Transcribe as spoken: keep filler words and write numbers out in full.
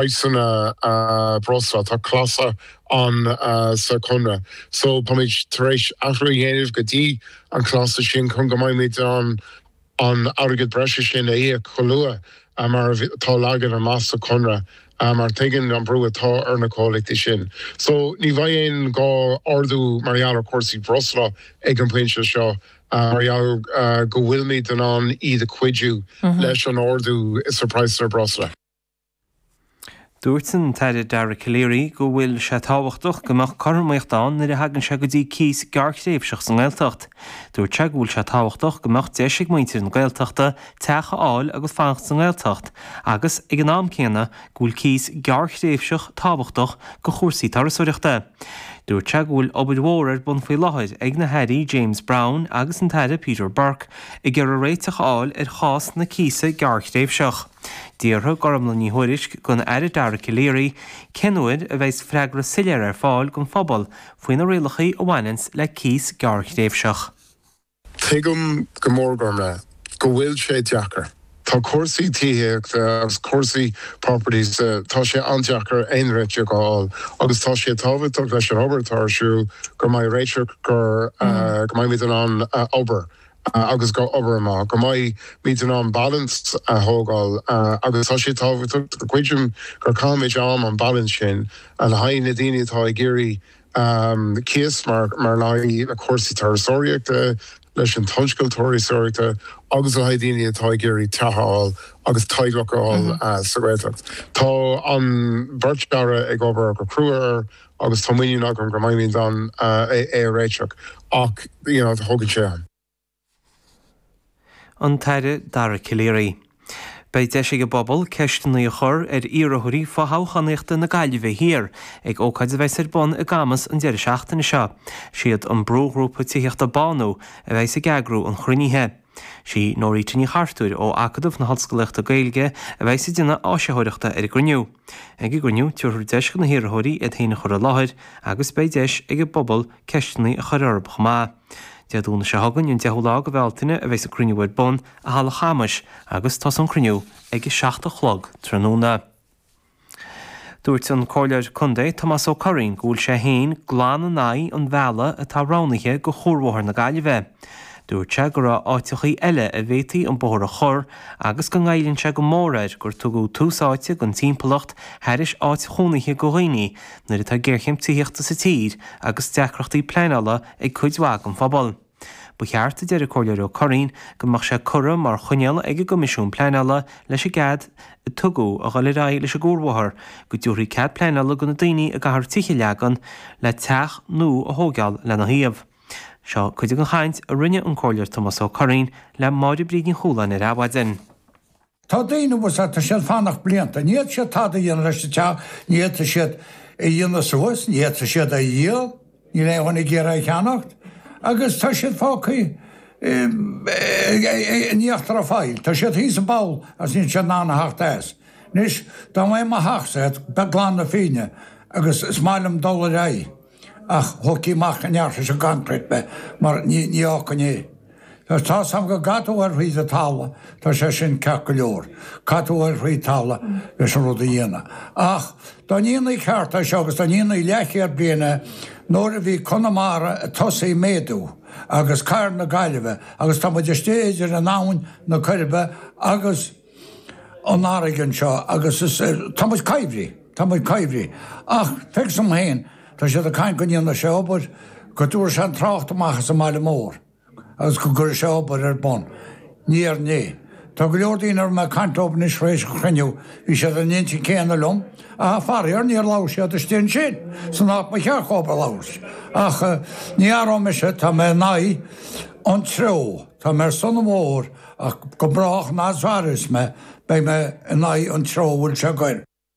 praghsanna breosla, tá clásal ann sa chonradh. So táimid tar éis athrú a dhéanamh go dtí an clásal sin chun go mbeimid an an airgead breise sin a íoc chomh luath mar atá leagtha amach sa chonradh mar tuigeann an brú atá ar na comhlachtaí sin. So ní bheidh aon gá ardú mar gheall ar chúrsaí breosla ag an bpointe seo mar gheall go bhfuilimid in ann iad a chuidiú leis an ardú is ar praghas ar breosla. Dúirt an tAire Dara Calleary go bhfuil sé tábhachtach go mbeadh cothromaíocht ann nuair a thagann sé go dtí cíos gearrthréimhseach sa nGaeltacht. Dúirt sé go bhfuil sé tábhachtach go mbeadh deis ag muintir na Gaeltachta teach a fháil agus fanacht sa nGaeltacht, agus ag an am céanna go bhfuil cíos gearrthréimhseach tábhachtach do chúrsaí turasóireachta. Dúirt sé go bhfuil obair mhór ar bun faoi láthair ag na hairí James Browne agus an tAire Peter Burke ag iarraidh réiteach a fháil ar chás na cíosa gearrthréimhseach. D'fhiafraigh Gormlaith Ní Thuairisg den Aire Dara Calleary cén uair a bheidh freagra soiléir ar fáil don phobal faoi na rialacha a bhaineann le cíos gearrthréimhseach. Tuigim go mór Gormlaith go bhfuil sé deacair. Tá cúrsaí tithíochta agus cúrsaí properties tá sé an-deacair aon réiteach a fháil agus tá sé tábhachtach leis an obair atá ar siúl go mbeidh réiteach gur go mbeimid in ann obair. agus go obair amach go mbeimid in ann balance a thógáil agus tá sé tábhachtach go gcuidim gur caithfimid am an balance sin le haghaidh na daoine atá ag iarraidh cíos mar mar le haghaidh na cúrsaí turasóireachta leis an tionscal turasóireachta agus le haghaidh daoine atá ag iarraidh teach a fháil agus teaghlach a fháil sa Ghaeltacht. Tá an bheirt aire ag obair go crua agus tá muinín agam go mbeimid in ann é a réiteach ach you know, thógann sé am. An tAire Dara Calleary. Beidh deis ag an bpobal ceisteanna a chur ar iarrthóirí fothoghchánaíochta na Gaillimhe Thiar ag ócáid a bheas ar bun i gCamas an deireadh seachtaine seo. Siad an brúghrúpa tithíochta Bánú a bheas ag eagrú an chruinnithe. Sí Norita Ní Chartúir ó Acadamh na hOllscolaíochta Gaeilge a bheas ag déanamh áisitheoireachta ar an gcruinniú. Ag an gcruinniú tabharfar deis do na hiarrthóirí iad féin a chur i láthair agus beidh deis ag an bpobal ceisteanna a chur orthu chomh maith. Dé Domhnaigh seo chugainn an deichiú lá de Bhealtaine a bheas an cruinniú ar bun i Halla Chamais agus tosóidh an cruinniú ag a seacht a chlog tráthnóna. Dúirt an Comhairleoir Contae Tomás Ó Curraoin go bhfuil sé féin glan in aghaidh an bhealaigh atá roghnaithe do chuarbhóthar na Gaillimhe. Dúirt sé go raibh áiteachaí eile a bhféadfaí an bóthar a chur agus go ngoilleann sé go mór air gur tugadh tús áite don timpeallacht thairis áit chónaithe do dhaoine nuair atá géarchéim tithíochta sa tír agus deacrachtaí pleanála ag cuid mhaith den phobal. Ba cheart a deir an Comhairleoir Ó Curraoin go mbeadh sé curtha mar choinníoll ag an gCoimisiún Pleanála leis an gcead a tugadh a dhul ar aghaidh leis an gcuarbhóthar go dtabharfaí cead pleanála do na daoine a gcaithfear tithe a leagan le teach nua a thógáil lena thaobh. Seo cuid den chaint a rinne an Comhairleoir Tomás Ó Curraoin le Máire Bríd Ní Chualáin ar Adhmhaidin. Tá daoine bhus tá siad fanacht blianta, ní fhéadfaidh siad tada a dhéanamh leis an teach, ní fhéadfaidh siad a dhéanamh suas, ní fhéadfaidh siad a dhíol, níl aon dhuine ag iarraidh a cheannacht, agus tá siad fágtha in íochtar an phoill. Tá siad thíos i bpoll agus níl siad in ann a theacht as. Anois, dá mbeadh mo theachsa glan na Féinne agus is maith liom dul ar aghaidh. Ach thógfaí amach an neart leis an gconcrete mé mar ní ní fhágfainn é. Tá tá's agam go gcaithfidh tú a ghoil thríd an talamh, tá sé sin ceart go leor. Caithfidh tú a ghoil thríd talamh leis an rud a dhéanamh. Ach dá ndéanfaí ceart é seo agus dá ndéanfaí leathchéad bliain é nuair a bhí Conamara ag tosaí méadú agus cathair na Gaillimhe agus tá muid istigh idir an abhainn na Coiribe agus an fharraige anseo agus is tá muid coimhthí, tá muid coimhthí. Ach feictear dom féin, tá siad ag caint go ndéanfaidh sé obair, go dtabharfaidh sé an trácht amach as an mbaile mór agus go gcuirfidh sé obair ar bun. Ní déarfainn é. Tá go leor daoine a raibh mé ag caint leo anois tar éis an chruinniú, bhí siad ar an intinn céanna liom, ach faraor níor labhair siad istigh ansin san áit ba cheart dhóibh a labhairt. Ach ní athróidh mise, tá mé in aghaidh an treo, tá mé ar son an bhóthair ach go brách an fhad is a mhairfeas mé, beidh mé in aghaidh an treo a bhfuil sé ag goil.